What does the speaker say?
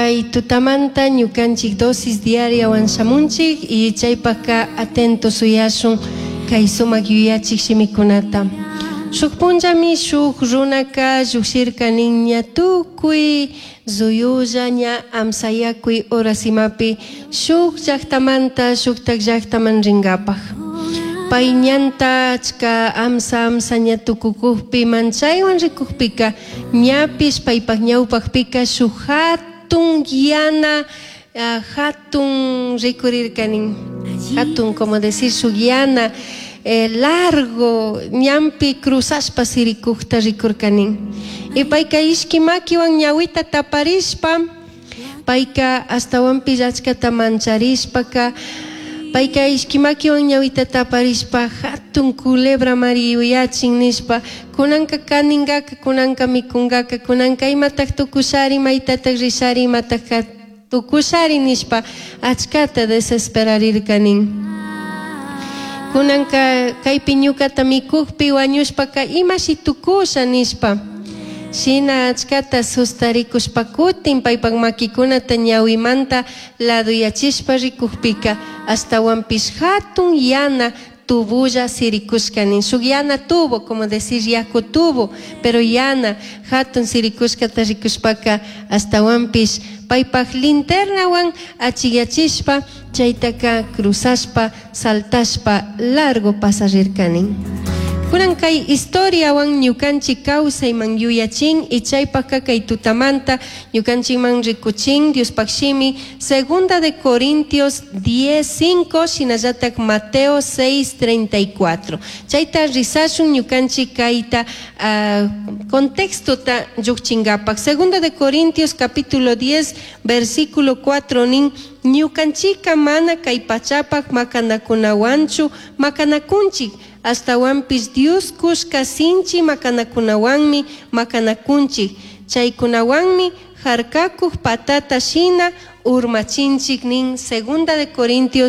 Kay tutamanta ñukanchik dosis diariawan shamunchik y chaypaka atento suyashun kay sumak yuyachik shimikunata. Shuk punllami shuk runaka llukshirka nin ña tukuy ruyulla ña amsayakuy horasimapi shuk llaktamanta shuktak llaktaman rinkapak. Pay ñanta achka amsa amsa ña tukukukpi manchaywan rikukpika ñapish paypak ñawpakpika shuk hatun yana hatun rikurirka nin hatun como decir shuk yana largo ñanpi cruzashpa sirikukta rikurka nin y payka ishki makiwan ñawita taparishpa payka ashtawanpish achkata mancharishpaka payka ishki makiwan ñawita taparishpa hatun culebra mari yuyachin nishpa kunanka kaninkaka kunanka mikunkaka kunanka imatak tukushari maytatak rishari imatak tukushari nishpa achkata desesperarirka nin. Kunanka kaypi ñukata mikukpi wañushpaka imashi tukusha nishpa shina achkata sustarikushpa kutin paypak makikunata ñawimanta laduyachishpa rikukpika ashtawanpish hatun yana tubulla sirikushka nin shuk yana tubo como decir yaku tubo pero yana hatun sirikushkata rikushpaka ashtawanpish paypak linternawan achiyachishpa chaytaka cruzashpa saltashpa largo pasarirka nin. Kunan kay historiawan ñukanchik kawsayman yuyachin y chaypaka kay tutamanta ñukanchikman rikuchin Diospaq shimi Segunda de Corintios 10:5 shinallatak Mateo 6:34. Chayta risashun ñukanchik kayta contextota lluqchinkapak. Segunda de Corintios capítulo 10 versículo 4 nin ñukanchika mana kay pachapak makanakunawanchu makanakunchik ashtawanpish Dios kushka sinchi makanakunawanmi makanakunchik chaykunawanmi harkakuq patata shina urmachinchik nin Segunda de Corintios.